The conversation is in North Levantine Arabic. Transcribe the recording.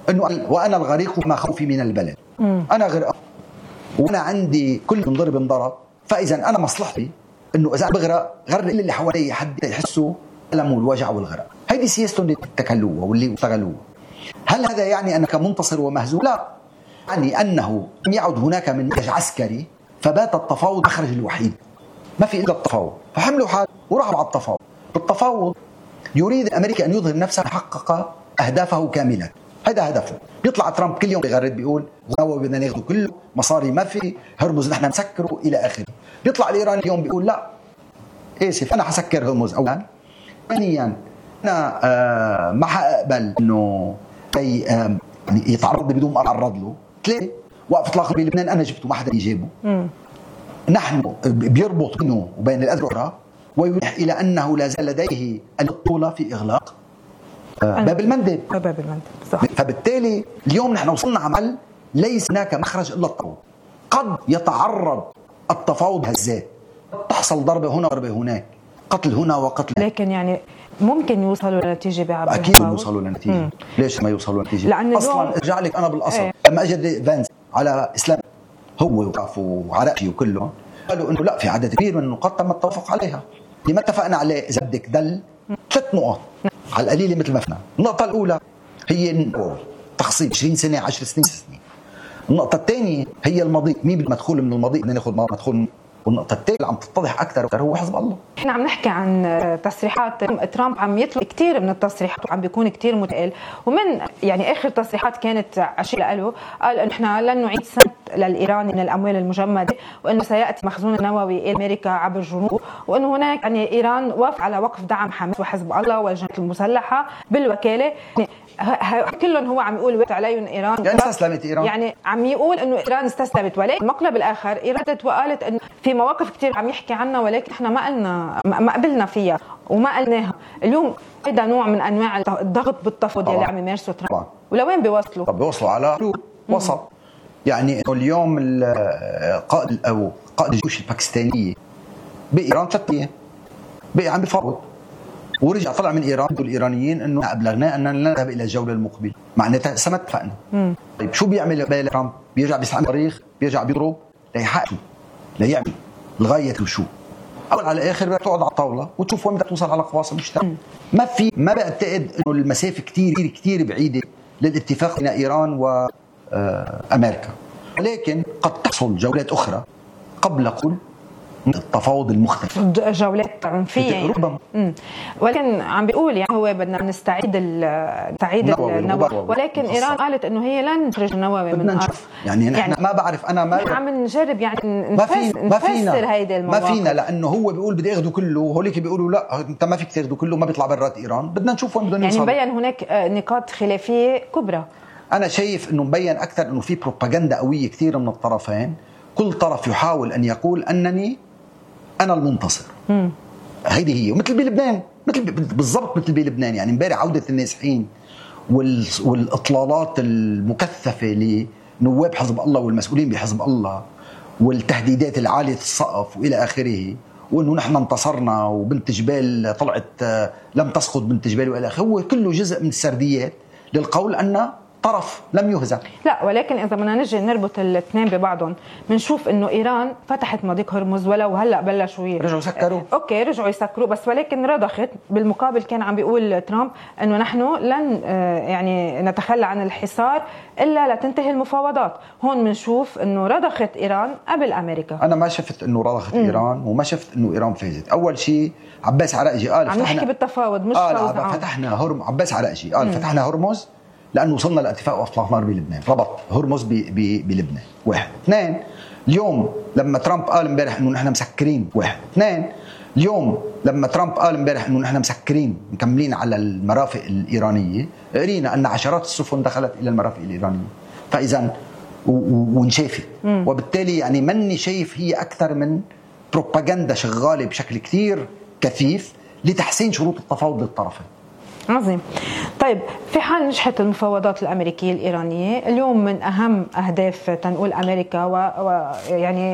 انه وانا الغريق ما خوفي من البلد. انا غرق وانا عندي كل انضرب، فاذا انا مصلحتي انه اذا بغرق غرق اللي حوالي حد يحسوا الم والوجع والغرق. هيدي سياستهم اللي اتكلوها واللي اشتغلوها. هل هذا يعني انك منتصر ومهزوم؟ لا، يعني انه لم يعد هناك من منهج عسكري، فبات التفاوض مخرج الوحيد، ما في الا التفاوض، فحملوا حال وراحوا على التفاوض. بالتفاوض يريد امريكا ان يظهر نفسه حقق اهدافه كامله، هذا هدفه. بيطلع ترامب كل يوم بيغرد بيقول بدنا ناخذه كله، مصاري ما في، هرمز نحن نسكره الى اخره. بيطلع الايراني اليوم بيقول لا اسف انا حسكر هرمز اولا، ثانيا انا ما حقبل انه يتعرض بدون ما اتعرض له، ثلاثه وقف اطلاق بلبنان انا جبته ما حدا يجيبه. نحن بيربط بينه وبين الأذرع ويوحي إلى أنه لا زال لديه البطولة في إغلاق باب المندب. صح. فبالتالي اليوم نحن وصلنا عمل ليس هناك مخرج إلا التفاوض. قد يتعرض التفاوض هزات، تحصل ضربة هنا ضربة هناك، قتل هنا وقتل، لكن يعني ممكن يوصلوا لنتيجة بعبر أكيد يوصلوا لنتيجة. ليش ما يوصلوا لنتيجة؟ لأن أصلا ارجع لك أنا بالأصل لما أجد فانس على إسلام هو وقفوا وعراقي وكلهم قالوا انه لا، في عدد كبير من النقاط تم التوافق عليها. لما اتفقنا عليه اذا بدك دل 3 نقط على القليله مثل ما فينا. النقطه الاولى هي تخصيص 20 سنه 10 سنين 6 سنين. النقطه الثانيه هي الماضي، مين بالمدخول من الماضي بدنا ناخذ مدخول. والنقطه الثالثه اللي عم تتضح اكثر واكثر هو حزب الله. احنا عم نحكي عن تصريحات ترامب، عم يطلق كثير من التصريحات وعم بيكون كثير متقل، ومن يعني اخر تصريحات كانت عشية له قال انه احنا لن نعيد سنت للايران من الاموال المجمده، وانه سياتي مخزون النووي الى امريكا عبر جنوب، وانه هناك يعني ايران وافق على وقف دعم حماس وحزب الله والجماعات المسلحه بالوكاله. كلهم هو عم يقول عليهم ايران يعني استسلمت ايران، يعني عم يقول انه ايران استسلمت، ولكن المقلب الاخر ايران وقالت انه في مواقف كثير عم يحكي عنها ولكن احنا ما قبلنا فيها وما قلناها. اليوم هذا نوع من انواع الضغط بالتفاوض اللي عم يمارسه ترامب. ولوين بيوصلوا؟ طب بيوصلوا على وسط. يعني اليوم قائد الجيوش الباكستانيه بايران 3 ايام بقي عم بيفاوض، ورجع طلع من ايران الايرانيين انه ابلغنا اننا لن نذهب الى الجوله المقبله، معناتها سما اتفقنا. طيب شو بيعمل ترامب؟ بيرجع بيستعمل التاريخ، بيرجع بيضرب ليحقق ليعمل لغايه وشو. اول على الاخر بدك تقعد على الطاوله وتشوف وين بدك توصل على قواصم مشتركه. ما بعتقد انه المسافه كثير بعيده للاتفاق بين ايران وامريكا، ولكن قد تحصل جولات اخرى قبل كل التفاوض المختلف، جولات عنفيه ربما. ولكن عم بيقول يعني هو بدنا نستعيد النووي، ولكن ايران قالت انه هي لن تخرج النووي من الارض. يعني نحن ما بعرف، انا ما عم نجرب يعني نفسر هيدي المواقف. ما فينا، لانه هو بيقول بدي اخذه كله وهوليك بيقولوا لا انت ما فيك تاخذه كله، ما بيطلع برات ايران. بدنا نشوف وين بدهم يوصلوا. يعني مبين هناك نقاط خلافيه كبرى. انا شايف انه مبين اكثر انه في بروباغندا قويه كثير من الطرفين، كل طرف يحاول ان يقول انني انا المنتصر. هيدي هي، مثل بلبنان، بالضبط مثل بلبنان. يعني امبارح عوده النازحين والاطلالات المكثفه لنواب حزب الله والمسؤولين بحزب الله والتهديدات العاليه السقف والى اخره، وانه نحن انتصرنا وبنت جبال طلعت لم تسقط بنت جبال والى اخره، هو كله جزء من السرديات للقول ان طرف لم يهزم. لا، ولكن اذا بدنا نجي نربط الاثنين ببعضهم بنشوف انه ايران فتحت مضيق هرمز ولو هلا بلشوا رجعوا يسكروا. اوكي رجعوا يسكروا، بس ولكن رضخت. بالمقابل كان عم بيقول ترامب انه نحن لن يعني نتخلى عن الحصار الا لتنتهي المفاوضات. هون بنشوف انه رضخت ايران قبل امريكا. انا ما شفت انه رضخت ايران وما شفت انه ايران فازت. اول شيء عباس عراقجي قال عم نحكي بالتفاوض مش فتحنا عباس عراقجي قال فتحنا هرمز لأنه وصلنا لاتفاق وإطلاق نار بلبنان، ربط هرمز بلبنان. 1 2 اليوم لما ترامب قال امبارح إنه نحن مسكرين 1 2 اليوم لما ترامب قال امبارح إنه نحن مسكرين مكملين على المرافق الإيرانية، قرينا أن عشرات السفن دخلت إلى المرافق الإيرانية، فإذا وانشافت. وبالتالي يعني مني شايف هي أكثر من بروباغندا شغالة بشكل كثير كثيف لتحسين شروط التفاوض للطرفين. عظيم. طيب في حال نجحت المفاوضات الأمريكية الإيرانية اليوم، من أهم أهداف تنقول أمريكا ويعني